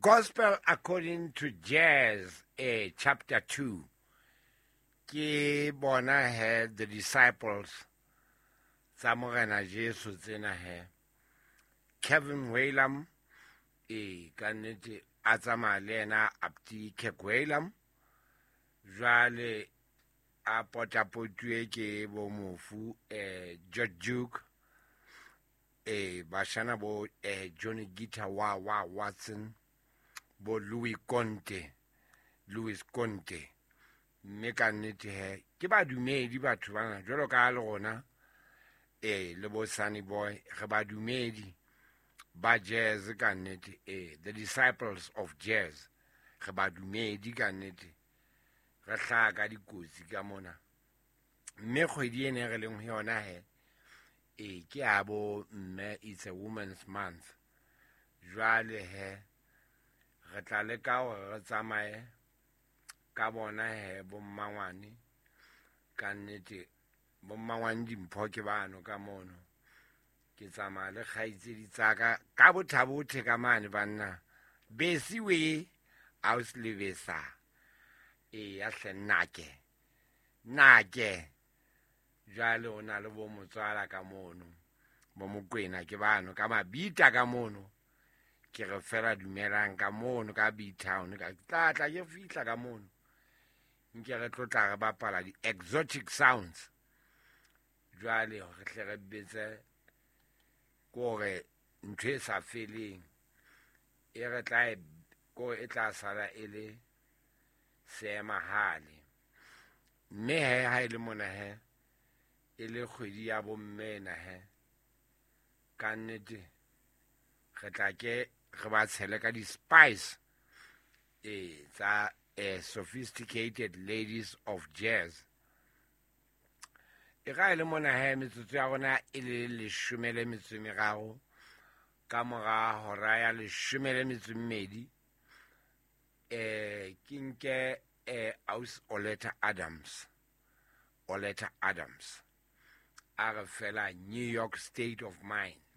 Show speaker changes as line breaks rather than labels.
Gospel According to Jazz, chapter 2. Ke bona he the disciples tsa Morena Jesu tsena he. Kevin Whalam, ka nnete a tsamaya le yena Abdi Kirk Whalum. Jwale a potapotuwe ke bo mofu George Duke, bashana bo Johnny Guitar wa wa Watson, bo Louis Conte, Louis Conte. Mme ka nnete he ke badumedi batho bana jwalo ka le rona, le bo Sunny Boy, re badumedi ba jazz ka nnete, the disciples of jazz, re badumedi ka nnete, re hlaha ka dikotsi ka mona. Mme kgwedi ena e re leng ho yona he, ke ya bo mme, it's a women's month. Jwale he re tla leka hore re tsamaye ka bona he bo mmangwane ka nnete, bo mmangwane dimpho ke bano ka mono. Ke tsamaya le kgaitsedi tsa ka ka bothabothe ka mane banna. Besi we aus lebesa. Ya hle nnake. Nnake. Jwale o na le bo motswala ka mono. Bo Mokwena ke bano ka mabita ka mono. Ke re fela dumelang ka mono ka B-Town, ka tla tla ke fihla ka mono. Nke re tlo tla re bapala di-exotic sounds. Jwale re hle re betse kore ntho e sa feleng e re tla e ko e tla sala e le seemahale. Mme he ha e le mona he e le kgwedi ya bomme ena he, ka nnete re tla ke re ba tshele ka di-spice tsa sophisticated ladies of jazz. E ka e le mona he metsotso ya rona e le 13 ka mora hora ya 12, ke nke aus Oleta Adams. Oleta Adams a re fela New York State of Mind.